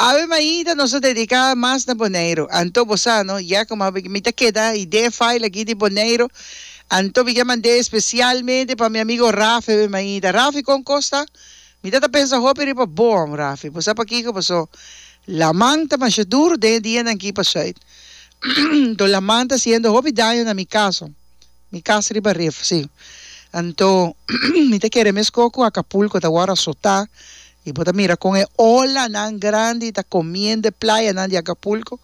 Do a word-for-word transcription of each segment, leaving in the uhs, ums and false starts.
Awe mainta nos a dediká mas na Boneiru. Anto bo sa no, ya komo mi ta keda idea file aki di Boneiru. Anto mi ke mand'é spesialmente pa mi amigo Rafi awe mainta. Rafi, kon kos ta? Mi ta ta pensa hopi riba bo, Rafi. Bo sa pakiko? Paso laman ta masha duru den e dianan aki pa sùit. Anto laman ta hasiendo hopi daño na mi kas. Mi kas riba rif, sí. Anto mi ta kere meskos ku Acapulco ta wòrdu asotá i bo ta mira kon e olanan grandi ta komiendo e playanan di Acapulco.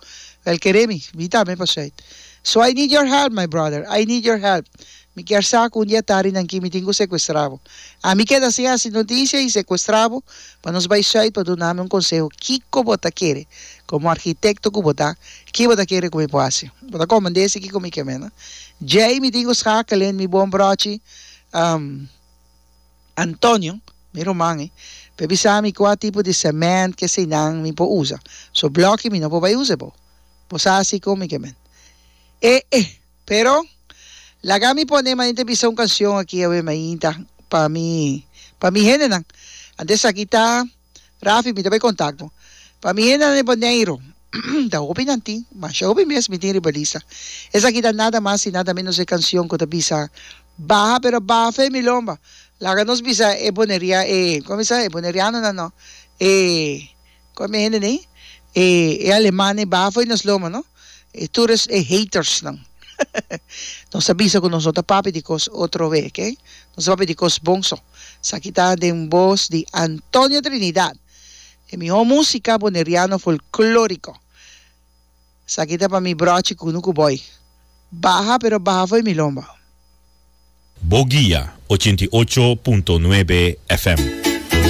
Wèl, kere mi, mi tambe pa sùit. So I need your help, my brother. I need your help. Mi kier sa ku un dia tardinan aki mi tin ku sekuestrá bo. Ami keda sin hasi notisia i sekuestrá bo pa nos bai sùit pa duna mi un konseho kiko bo ta kere komo arkitekto ku bo ta, ki bo ta kere ku mi por hasi. Bo ta komand'é si kiko mi ke mena. Djei mi tin ku schakel mi bon brochi um, Antonio, mi ruman, eh, pa bisa mi kua tipo di sement ku eseinan mi por usa. So blòki mi no por bai usa bo. Bo sa si kon mi ke men. Eh, eh, pero laga mi pone mainta bisa un kanshon aki awe mainta pa mi pa mi hendenan. Antes aki ta Rafi, mi ta bai kontakto. Pa mi hendenan di Boneiru. Ta hopi nan tin, masha hopi mes mi tin riba lista. Esaki ta nada mas i nada menos e kanshon ku ta bisa "Baha pero baha fo'i mi lomba". Laga nos bisa e boneria e, kon bisa e bonerianonan no? E kon mi hende nei? E e alemannan baha fo'i nos lomba no? E tur e hatersnan. Nos a bisa ku nos no ta papia di kos otro be, okay? Nos ta papia di kos bon so. Esaki ta den bos di Antonio Trinidad. E mihó músika boneriano folklóriko. Esaki ta pa mi brochi Kunuku Boy. "Baha pero baha fo'i mi lomba". Bo Guia, ochenta i ocho punto nuebe F M.